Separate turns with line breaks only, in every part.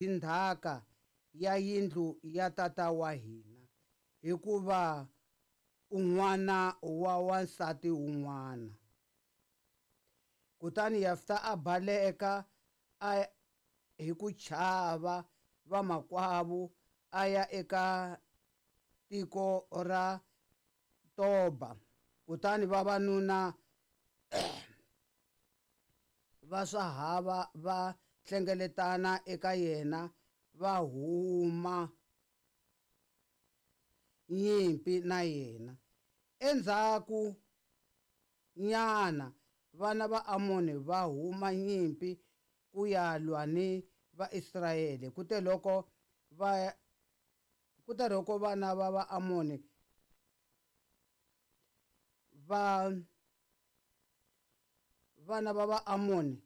Ndzhaka ya yindlu ya tata wa hina, hikuva u n'wana wa wansati un'wana. Kutani Yefta a baleka a hi ku chava vamakwavo a ya eka tiko ra Toba. Kutani vavanuna va swahava va hlengeletana eka yena va huma nyimpi na yena. Endzhaku nyana vana va Amoni va huma nyimpi ku ya lwa ni Vaisraele. Kuteloko va kuteloko vana va Vaamoni va vana va Vaamoni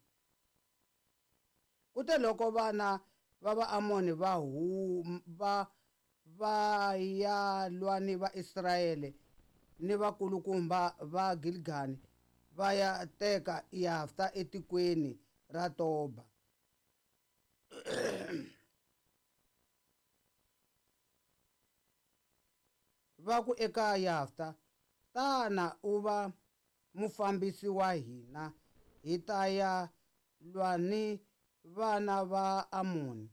kuteloko vana va Vaamoni va huma va va ya lwa ni Vaisraele ni vakulukumba va Gilgali va ya teka Yefta etikweni ra Toba. Va ku eka Yefta, Tana u va mufambisi wa hina, hi ta ya lwa ni vana va Amoni.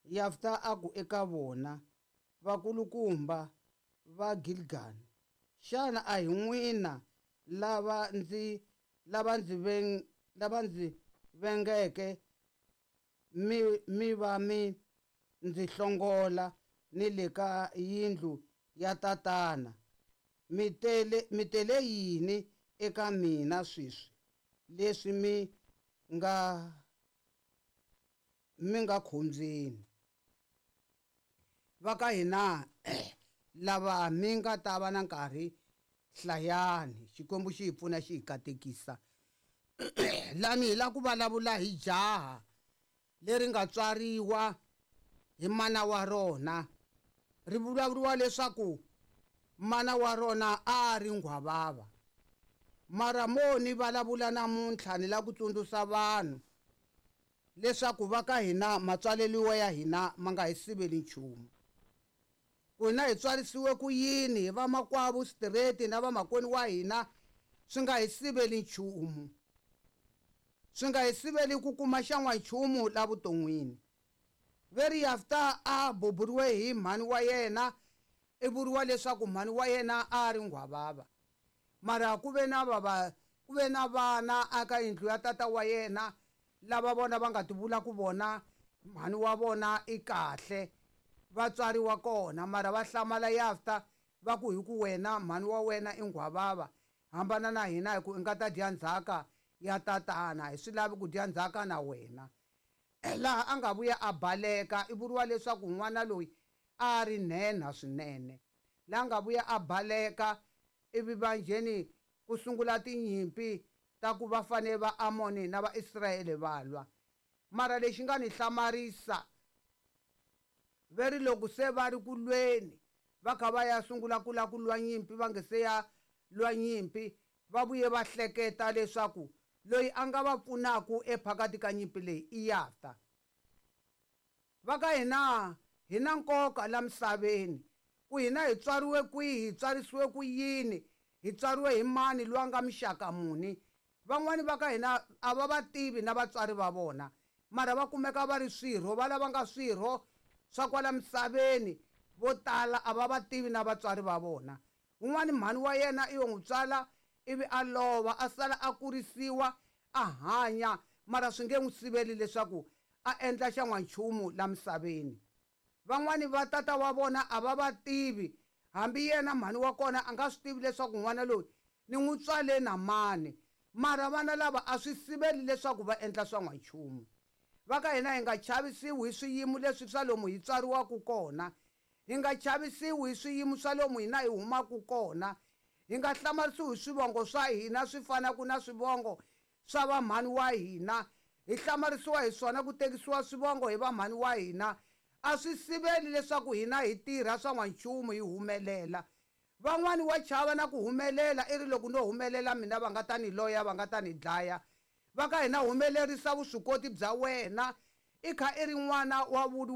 Yefta a ku eka vona, Vakulukumba va Gilgali, xana a hi n'wina lava ndzi lava ndzi veng lava ndzi vengeke mi mi va mi ndzi hlongola ni le ka yindlu ya tatana? Mi tele mi tele yini eka mina sweswi leswi mi nga mi nga khombyeni? Va ka hina lava mi nga ta va na nkarhi, hlayani. Xikwembu xi hi pfuna, xi hi katekisa. Lani hi lava ku vulavula hi jaha leri nga tswariwa hi mana wa rona. Ri vulavuriwa leswaku mana wa rona a ri nghwavava. Mara mo ni vulavula namuntlha ni lava ku tsundzuxa vanhu leswaku va ka hina matswaleriwa ya hina ma nga hi siveli nchumu. Ku hina hi tswarisiwe ku yini hi vamakwavo straight na vamakwenu wa hina swi nga hi siveli nchumu. Swi nga hi siveli ku kuma xan'wanchumu la vuton'wini. Ve ri Yefta a buburiwe hi mhani wa yena, i vuriwa leswaku mhani wa yena a ri nghwavava. Mara ku ve na vava ku ve na vana aka yindlu ya tata wa yena lava vona va nga ti vula ku vona mhani wa vona i kahle, va tswariwa kona. Mara va hlamala Yefta va ku hi ku wena mhani wa wena i nghwavava, hambana na hina hi ku i nga ta dya ndzhaka ya tatana, hi swi lavi ku dya ndzhaka na wena. Laha a nga vuya a baleka, i vuriwa leswaku n'wana loyi a ri nhenha swinene. Laha nga vuya a baleka ivi vanjheni ku sungula tinyimpi ta ku va fanele va Amoni na Vaisraele va lwa. Mara lexi nga ni hlamarisa, ve ri loko se va ri ku lweni va kha va ya sungula ku lava ku lwa nyimpi, va nge se ya lwa nyimpi, va vuye va hleketa leswaku loyi a nga va pfunaka ephakati ka nyimpi leyi i Yefta. Va ka hina hi na nkoka la misaveni, ku hina hi tswariwe kwihi, hi tswarisiwe ku yini, hi tswariwe hi mani, loyi a nga muxaka muni. Van'wani va ka hina a va va tivi na vatswari va vona, mara va kumeka va ri swirho, va lava nga swirho swa kwala misaveni, vo tala a va va tivi na vatswari va vona. Un'wani mhani wa yena i yo n'wi tswala ivi a lova, a sala a kurisiwa a hanya, mara swi nge n'wi siveli leswaku a endla xan'wanchumu la misaveni. Van'wani va tata wa vona a va va tivi, hambi yena mhani wa kona a nga swi tivi leswaku n'wana loyi ni n'wi tswale na mani, mara vana lava a swi siveli leswaku va endla swa n'wanchumu. Va ka hina hi nga chavisiwi hi swiyimo leswi swa lomu hi tswariwaka kona, hi nga chavisiwi hi swiyimo swa lomu hina hi humaka kona, hi nga hlamarisiwi hi swivongo swa hina swi fanaka na swivongo swa vamhani wa hina, hi hlamarisiwa hi swona ku tekisiwa swivongo hi vamhani wa hina. A swi siveli leswaku hina hi tirha swa n'wanchumu hi humelela. Van'wani wa chava na ku humelela, i ri loko no humelela mina va nga ta ni loya, va nga ta ni dlaya. Va ka hina humelerisa vuswikoti bya wena i kha i ri n'wana wa